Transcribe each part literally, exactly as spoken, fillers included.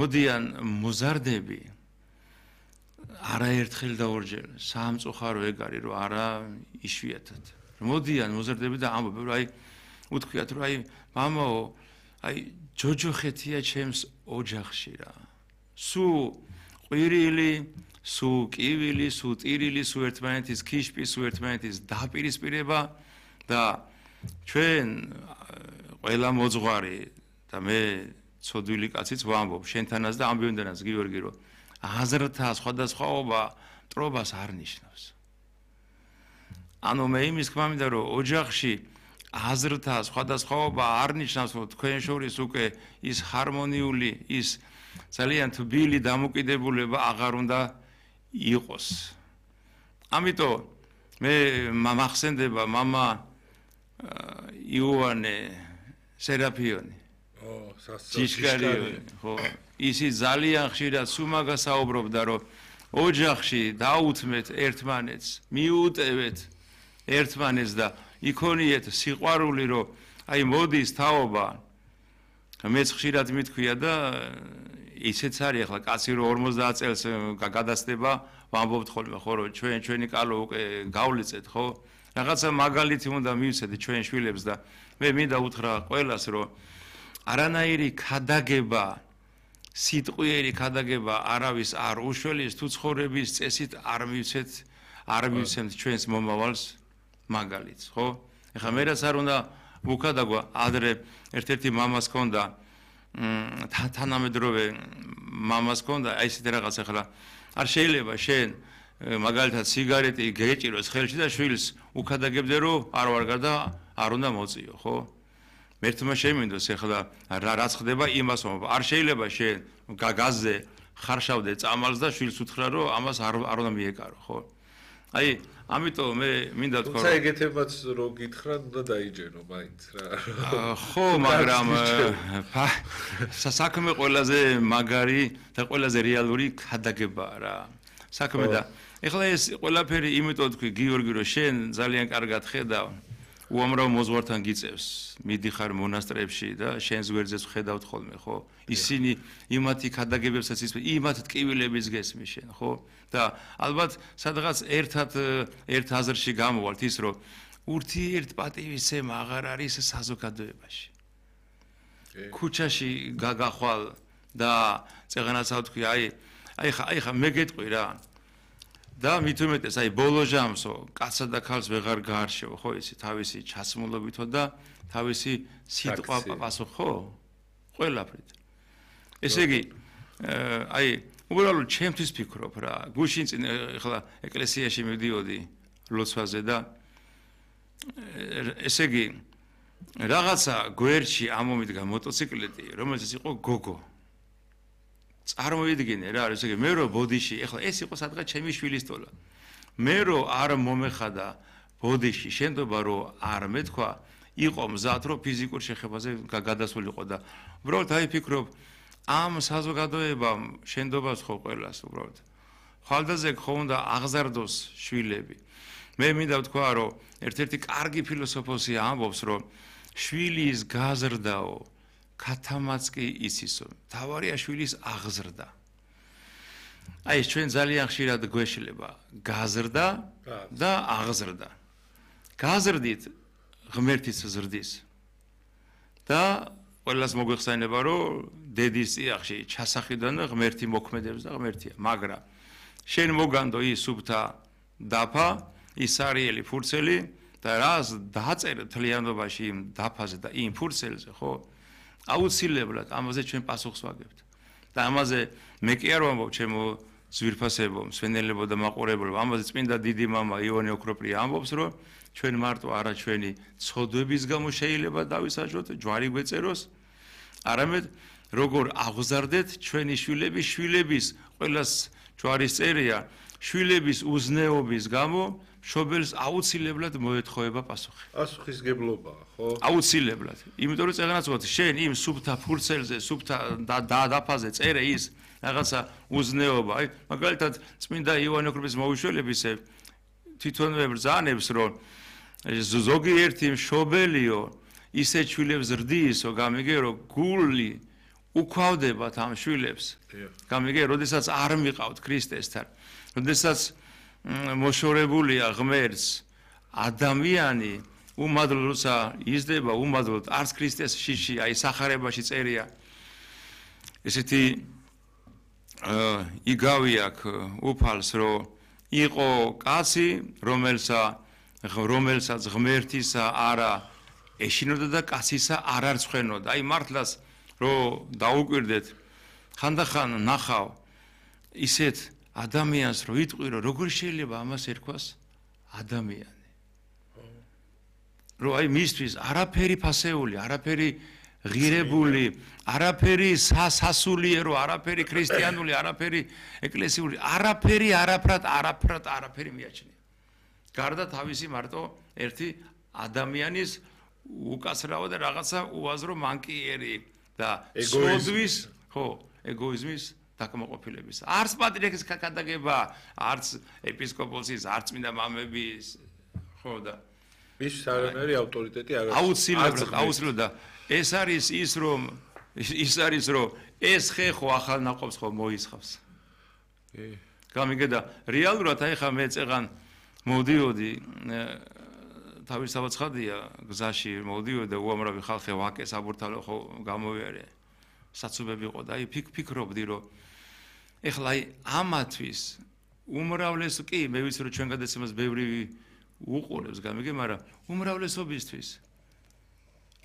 მოდიან მოზარდები არაერთხელ და ორჯერ სამწუხარო ეგ არის რომ არა იშვიათად მოდიან მოზარდები და ამბობენ რომ აი უთქვიათ რომ აი მამაო აი ჯოჯოხეთია ჩემს ოჯახში რა სუ ყვირილი სუ კივილი სუ ტირილი სუ ერთმანეთის ქიშპი სუ ერთმანეთის დაპირისპირება და ჩვენ ყველა მოძღვარი და მე ცოდვილი კაციც ვამბობ შენთანაც და ამბიონდანაც გიორგი რომ აზრთა სხვადასხვაობა მტრობას არ ნიშნავს ანუ მე იმის თქმა მინდა რომ ოჯახში აზრთა სხვადასხვაობა არ ნიშნავს რომ თქვენ შორის უკვე ის ჰარმონიული ის ძალიან თბილი დამოკიდებულება აღარ უნდა იყოს ამიტომ მე მახსენდება მამა იოანე სერაფიონი ო სისკარიონი ხო ისი ძალიან ხშირად სუმაგა საუბრობდა რომ ოჯახში დაუთმეთ ერთმანეთს მიუტევეთ ერთმანეთს და იქონიეთ სიყვარული რომ აი მოდის თაობა მეც ხშირად მithქვია და ისეც არის ახლა კაცი რომ ორმოცდაათ წელს გადასდება ვამბობთ ხოლმე ხო რომ ჩვენ ჩვენი კალო უკვე გავლიცეთ ხო რაღაცა მაგალითი უნდა მივცეთ ჩვენ შვილებს და მე მინდა უთხრა ყველას რომ არანაირი ქადაგება სიტყვიერი ქადაგება არავის არ უშველის თუ ცხოვრების წესით არ მივცეთ არ მივცემთ ჩვენს მომავალს მაგალითს ხო ეხლა მე რაც არ უნდა ვუქადაგვა ადრე ერთ-ერთი მამას ჰქონდა თანამედროვე მამას ჰქონდა აი ესეთი რაღაც ახლა არ შეიძლება შენ მაგალითად სიგარეტი გეჭიროს ხელში და შვილს უქადაგებდე რომ არ ვარ გარდა არ უნდა მოწიო ხო მერთმა შემინდოს ახლა რაც ხდება იმას ვამბობ არ შეიძლება შენ გაზზე ხარშავდე წამალს და შვილს უთხრა რომ ამას არ არ უნდა მიეკარო ხო აი ამიტომ მე მინდა თქვა თუმცა ეგეთებაც რო გითხრა უნდა დაიჯერო მაინც რა ხო მაგრამ საქმე ყველაზე მაგარი და ყველაზე რეალური ქადაგებაა რა საქმე და ეხლა ეს ყველაფერი იმიტომ თქვი გიორგი რომ შენ ძალიან კარგად ხედავ უამრავ მოძღვართან გიწევს მიდიხარ მონასტრებში და შენს გვერდზეც ხედავთ ხოლმე ხო ისინი იმათი ქადაგებებსაც ის იმათ ტკივილების გესმის შენ ხო და ალბათ სადღაც ერთად ერთ აზრში გამოვალთ ის რომ ურთიერთ პატივისცემა აღარ არის საზოგადოებაში ქუჩაში გაგახვალ და წეღანაცა თქვი აი აი ხა აი ხა მე გეტყვი რა და მით უმეტეს აი ბოლო ჟამსო კაცსა და ქალს ვეღარ გაარშევ ხო ისი თავისი ჩასმულობითო და თავისი სიტყვა პასუხ ხო ყველაფრით ესე იგი აი უბრალოდ ჩემთვის ფიქრობ რა გუშინ წინ ახლა ეკლესიაში მივდიოდი ლოცვაზე და ესე იგი რაღაცა გვერდში ამომიდგა მოტოციკლეტი რომელზეც იყო გოგო წარმოვიდგინე რა არის ესე იგი მე რო ბოდიში ეხლა ეს იყო სადღაც ჩემი შვილის თოლა მე რო არ მომეხადა ბოდიში შენდობა რომ არ მეთქვა იყო მზად რომ ფიზიკურ შეხებაზე გადასულიყო და უბრალოდ აი ფიქრობ ამ საზოგადოებამ შენდობას ხო ყველას უბრალოდ ხალდაზე ხო უნდა აღზარდოს შვილები მე მინდა ვთქვა რომ ერთ-ერთი კარგი ფილოსოფოსი ამბობს რომ შვილის გაზრდაო ქათამაც კი ისისო თავარია შვილის აღზრდა აი ეს ჩვენ ძალიან ხშირად გვეშლება გაზრდა და აღზრდა გაზრდით ღმერთის ზრდის და ყველას მოგვეხსენება რომ დედის წიაღში ჩასახედან ღმერთი მოქმედებს და ღმერთია მაგრამ შენ მოგანდო ის სუფთა დაფა ის არიელი ფურცელი და რას დაწერე თლიანობაში იმ დაფაზე და იმ ფურცელზე ხო აუცილებლად ამაზე ჩვენ პასუხს ვაგებთ და ამაზე მე კი არ ვამბობ ჩემო ძვირფასებო მსვენელებო და მაყურებელო ამაზე წმინდა დიდი მამა ივანე ოქროპლი ამბობს რომ ჩვენ მარტო არა ჩვენი ცოდვების გამო შეიძლება დავისაჯოთ ჯვარი გვეწეროს არამედ როგორ აღზარდეთ ჩვენი შვილების შვილების ყველას ჯვარის წერია შვილების უზნეობის გამო მშობელს აუცილებლად მოეთხოვება პასუხი. პასუხისგებლობაა, ხო? აუცილებლად. იმიტომ რომ წეგანაც ვთქვათ, შენ იმ სუფთა ფურცელზე, სუფთა დაფაზე წერე ის რაღაცა უზნეობა. აი, მაგალითად, წმინდა ივანე ოქროპლის მოუშველებისე თვითონვე ბრძანებს, რომ ზოგიერთი მშობელიო ისე შვილებს ზრდისო, გამიგე, რომ გული უქვავდებათ ამ შვილებს. გამიგე, როდესაც არ მიყავთ ქრისტესთან, როდესაც მოშორებულია ღმერთს ადამიანი, უმადლოდ როცა იზრდება, უმადლოდ არც ქრისტეს შიში, აი სახარებაში წერია. ესეთი იგავი აქვს უფალს, რომ იყო კაცი, რომელსა რომელსაც ღმერთისა არა ეშინოდა და კაცისა არ არცხვენოდა. აი მართლაც რომ დაუკვირდეთ, ხანდახან ნახავ ისეთ ადამიანს, რომ იტყვირო, როგორ შეიძლება ამას ერქვას ადამიანი. რომ აი მისთვის არაფერი ფასეული, არაფერი ღირებული, არაფერი სასულიერო, არაფერი ქრისტიანული, არაფერი ეკლესიური, არაფერი, არაფრად, არაფრად, არაფერი მიაჩნია. გარდა თავისი მარტო ერთი ადამიანის უკაცრავა და რაღაცა უაზრო მანკიერი და სოდვის, ხო, ეგოიზმის დაკმაყოფილების. არც პატრიარქის ქადაგება, არც ეპისკოპოსის, არც წმინდა მამების, ხო და ის არანაირი ავტორიტეტი არ აქვს. აუცილებლად, აუცილებლად ეს არის ის რომ ის არის რომ ეს ხე ხო ახალ ნაყოფს ხო მოისხავს. კი. გამიგე და რეალურად აი ხა მე წეღან მოდიოდი თავისთავად ცხადია გზაში მოდიოდი და უამრავი ხალხი ვაკეს აბურთალო ხო გამოვიარე. საცობები იყო და აი ფიქ ფიქრობდი რომ ეხლა აი ამათვის უმრავლეს კი მე ვიცი რომ ჩვენ გადაცემას ბევრი უყურებს გამიგე, მაგრამ უმრავლესობისთვის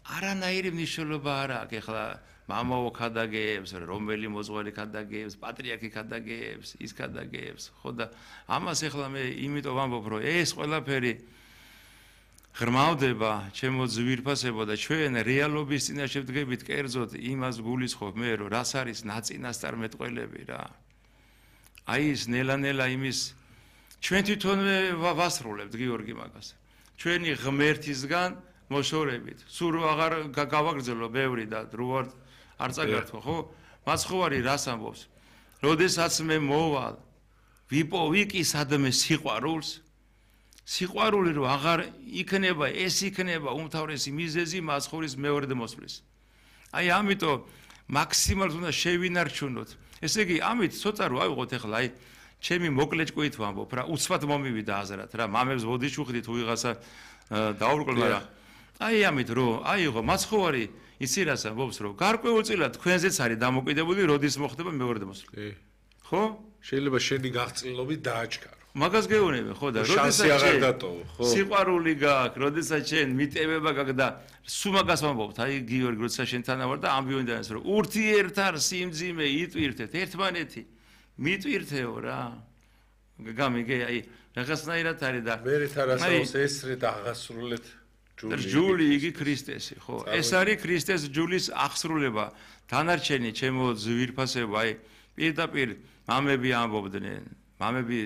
არანაირი მნიშვნელობა არ აქვს. ეხლა მამაო ქადაგებს, რომელი მოძღვარი ქადაგებს, პატრიარქი ქადაგებს, ის ქადაგებს, ხო და ამას ეხლა მე იმიტომ ვამბობ, რომ ეს ყველაფერი ღრმავდება ჩემო ძვირფასებო და ჩვენ რეალობის წინაშე ვდგებით კერძოდ იმას გულისხმობ მე, რომ რას არის ნაწინასწარმეტყველები რა. აი ის ნელა-ნელა იმის ჩვენ თვითონვე ვასრულებთ გიორგი მაგას. ჩვენი ღმერთისგან მოშორებით. სულ რო აღარ გავაგრძელო ბევრი და რუარ არ წაგართვა, ხო? მაცხოვარი რას ამბობს? როდესაც მე მოვალ, ვიპოვი კი სადმე სიყვარულს, სიყვარული რო აღარ იქნება, ეს იქნება უმთავრესი მიზეზი მაცხოვრის მეორედ მოსვლის. აი ამიტომ მაქსიმალურად უნდა შევინარჩუნოთ. ესე იგი, ამით ცოტა რო ავიღოთ ახლა აი ჩემი მოკლე ჭკვით ვამბობ რა, უცბად მომივიდა აზრად რა, მამებს ვოდიჩუხდი თუ ვიღაცა დაურყოლ, მაგრამ აი ამით რომ აიღო მაცხოვარი იცი რას ამბობს რომ გარკვეულწილად თქვენზეც არის დამოკიდებული როდის მოხდება მეორედ მოსვლა. ხო? შეიძლება შენი გაღწილობი დააჩქარო. მაგას გეუბნები ხო და როდესაც აღარ დატოვო, ხო? სიყვარული გაქვს, როდესაც შენ მიტევება გაქვს და სულ მაგას ვამბობთ, აი გიორგი როდესაც შენთან ვარ და ამბიონი და რომ ურთიერთარ სიმძიმე იტვირთეთ ერთმანეთი. მიტვირთეო რა. გამიგე აი რაღაცნაირად არის და მერეთ არასაოს ესრე და აღასრულეთ ჯული იგი ქრისტესი, ხო? ეს არის ქრისტეს ჯულის აღსრულება. დანარჩენი ჩემო ძვირფასება, აი პირდაპირ მამები ამბობდნენ, მამები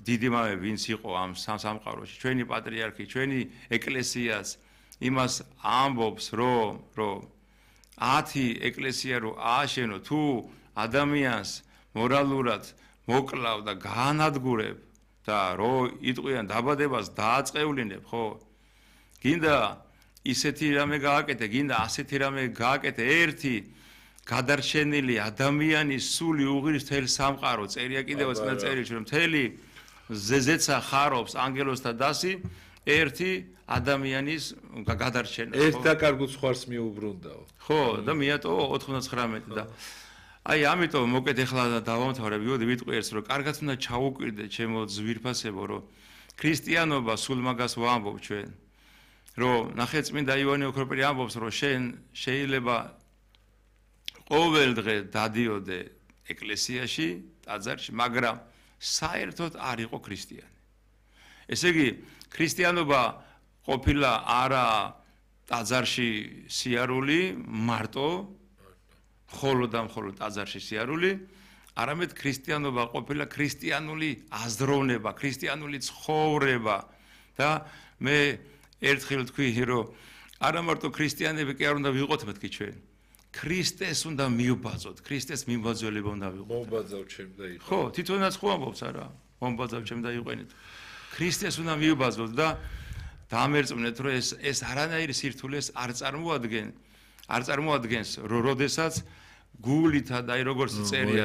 დიდი მამები ვინც იყო ამ სამყაროში, ჩვენი პატრიარქი, ჩვენი ეკლესიას იმას ამბობს, რომ რომ ათი ეკლესია რო ააშენო, თუ ადამიანს მორალურად მოკლავ და გაანადგურებ და რო იტყვიან დაბადებას დააწყევლინებ, ხო? გინდა ისეთი რამე გააკეთე, გინდა ასეთი რამე გააკეთე, ერთი გადარჩენილი ადამიანის სული უღირს თელ სამყარო, წერია კიდევ წინა წერილში, რომ მთელი ზეზეცა ხარობს ანგელოზთა დასი, ერთი ადამიანის გადარჩენა. ერთ დაკარგულ ხარს მიუბრუნდაო. ხო, და მიატოვა ოთხმოცდათხრამეტი და აი ამიტომ მოკეთ ეხლა დავამთავრებ, ვიოდი ვიტყვიერს, რომ კარგად უნდა ჩაუკვირდე ჩემო ძვირფასებო, რომ ქრისტიანობა სულ მაგას ვამბობ ჩვენ. რომ ნახე წმინდა ივანე ოქროპირი ამბობს, რომ შენ შეიძლება ყოველ დღე დადიოდე ეკლესიაში, ტაძარში, მაგრამ საერთოდ არ იყო ქრისტიანი. ესე იგი, ქრისტიანობა ყოფილა არა ტაძარში სიარული, მარტო ხოლო და მხოლოდ ტაძარში სიარული, არამედ ქრისტიანობა ყოფილა ქრისტიანული აზროვნება, ქრისტიანული ცხოვრება და მე ერთხელ თქვი, რომ არა მარტო ქრისტიანები კი არ უნდა ვიყოთ მეთქი ჩვენ. ქრისტეს უნდა მივბაძოთ, ქრისტეს მიმბაძველება უნდა ვიყოთ. მომბაძავ ჩემ და იყო. ხო, თვითონაც ხო ამბობს არა, მომბაძავ ჩემ და იყვენით. ქრისტეს უნდა მივბაძოთ და დამერწმუნეთ, რომ ეს ეს არანაირი სირთულეს არ წარმოადგენს, არ წარმოადგენს, რომ როდესაც გულით და აი როგორც წერია